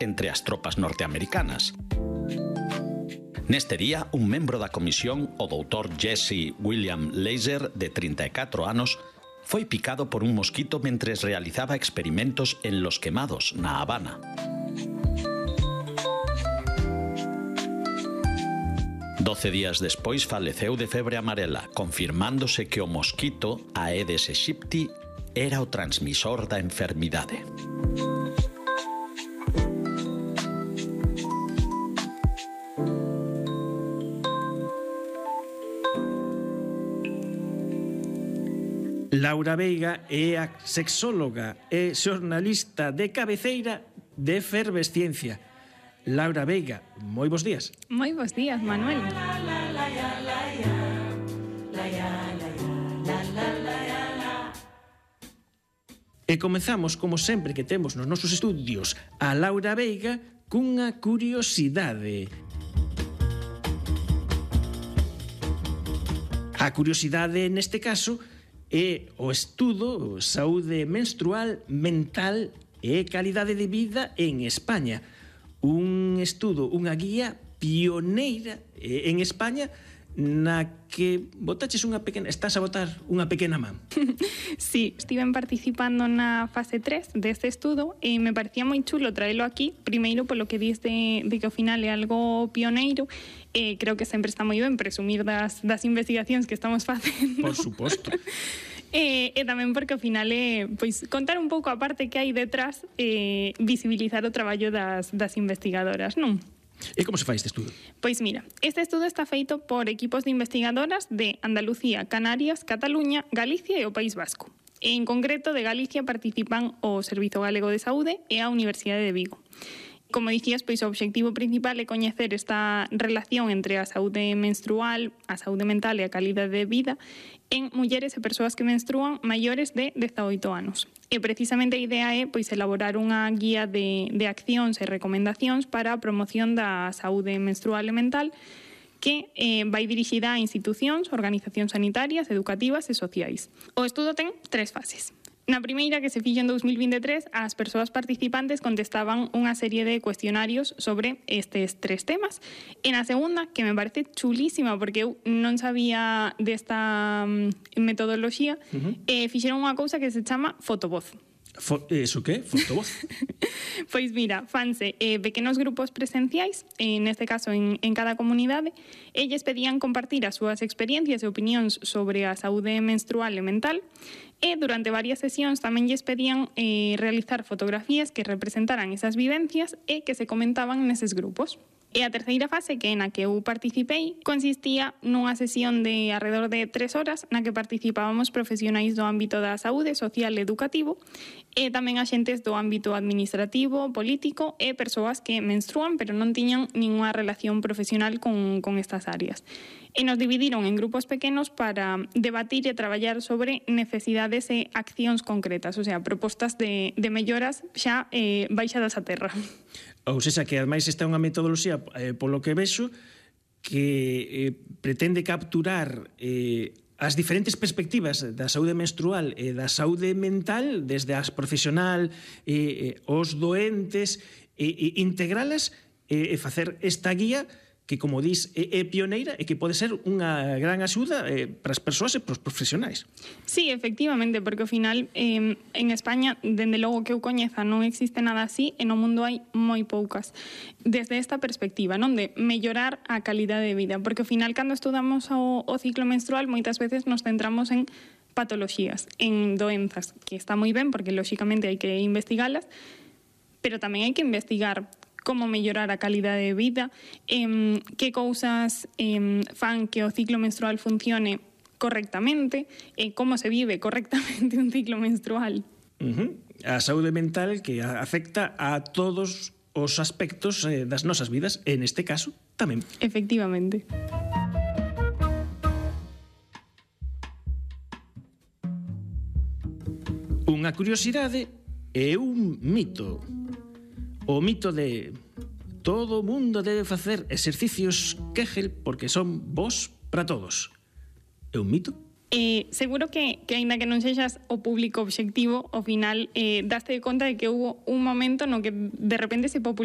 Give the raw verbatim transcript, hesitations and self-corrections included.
entre as tropas norteamericanas. Neste día, un membro da comisión, o doutor Jesse William Laser, de trinta e catro anos, foi picado por un mosquito mentres realizaba experimentos en Los Quemados, na Habana. Doce días despois faleceu de febre amarela, confirmándose que o mosquito Aedes aegypti era o transmisor da enfermidade. Laura Veiga é a sexóloga e xornalista de cabeceira de Efervesciencia. Laura Veiga, moi bons días. Moi bons días, Manuel. E comezamos, como sempre que temos nos nosos estudios, a Laura Veiga cunha curiosidade. A curiosidade, neste caso, é o estudo Saúde menstrual, mental e calidade de vida en España. Un estudo, unha guía pioneira en España na que botaches unha pequena, estás a botar unha pequena man. Sí, estiven participando na fase tres deste estudo e me parecía moi chulo traelo aquí, primeiro polo que dis de, de que ao final é algo pioneiro. Eh, creo que sempre está moi ben presumir das, das investigacións que estamos facendo. Por suposto. E, e tamén porque ao final é pois, contar un pouco a parte que hai detrás e visibilizar o traballo das, das investigadoras, non? E como se fai este estudo? Pois mira, este estudo está feito por equipos de investigadoras de Andalucía, Canarias, Cataluña, Galicia e o País Vasco. E en concreto de Galicia participan o Servizo Galego de Saúde e a Universidade de Vigo. Como dicías, pois o obxectivo principal é coñecer esta relación entre a saúde menstrual, a saúde mental e a calidade de vida en mulleres e persoas que menstrúan maiores de dezaoito anos. E precisamente a idea é pois elaborar unha guía de, de accións e recomendacións para a promoción da saúde menstrual e mental que eh, vai dirixida a institucións, organizacións sanitarias, educativas e sociais. O estudo ten tres fases. Na primeira, que se fixo en dous mil vinte e tres, as persoas participantes contestaban unha serie de cuestionarios sobre estes tres temas. E na segunda, que me parece chulísima, porque eu non sabía desta metodoloxía, uh-huh. eh, fixeron unha cousa que se chama fotovoz. Fo, ¿Eso qué? ¿Fotovoz? Pois mira, fanse eh, pequenos grupos presenciais, en este caso en, en cada comunidade. Elles pedían compartir as súas experiencias e opinións sobre a saúde menstrual e mental, e durante varias sesións tamén lles pedían eh, realizar fotografías que representaran esas vivencias e que se comentaban neses grupos. E a terceira fase, que é na que eu participei, consistía nunha sesión de alrededor de tres horas na que participábamos profesionais do ámbito da saúde social e educativo e tamén axentes do ámbito administrativo, político e persoas que menstrúan pero non tiñan ninguna relación profesional con, con estas áreas. E nos dividiron en grupos pequenos para debatir e traballar sobre necesidades e accións concretas, o sea, propostas de, de melloras xa eh, baixadas a terra. Ou seja, que ademais esta é unha metodoloxía, eh, polo que vexo, que eh, pretende capturar eh, as diferentes perspectivas da saúde menstrual e da saúde mental, desde as profesional, eh, eh, os doentes, e eh, eh, integralas e eh, facer esta guía que, como dis, é, é pioneira e que pode ser unha gran axuda eh, para as persoas e para os profesionais. Sí, efectivamente, porque ao final eh, en España, dende logo que eu coñeza, non existe nada así e no mundo hai moi poucas. Desde esta perspectiva, non de mellorar a calidade de vida, porque ao final cando estudamos o, o ciclo menstrual moitas veces nos centramos en patoloxías, en doenzas, que está moi ben porque lóxicamente hai que investigalas, pero tamén hai que investigar como mellorar a calidade de vida, eh, que cousas eh, fan que o ciclo menstrual funcione correctamente, e eh, como se vive correctamente un ciclo menstrual. Uh-huh. A saúde mental que afecta a todos os aspectos eh, das nosas vidas, e neste caso tamén. Efectivamente. Unha curiosidade e un mito. O mito de todo o mundo debe facer exercicios Kegel porque son bons para todos. É un mito? Eh, seguro que, que ainda que non sexas o público obxectivo, ao final eh, daste conta de que hubo un momento no que de repente se popularizou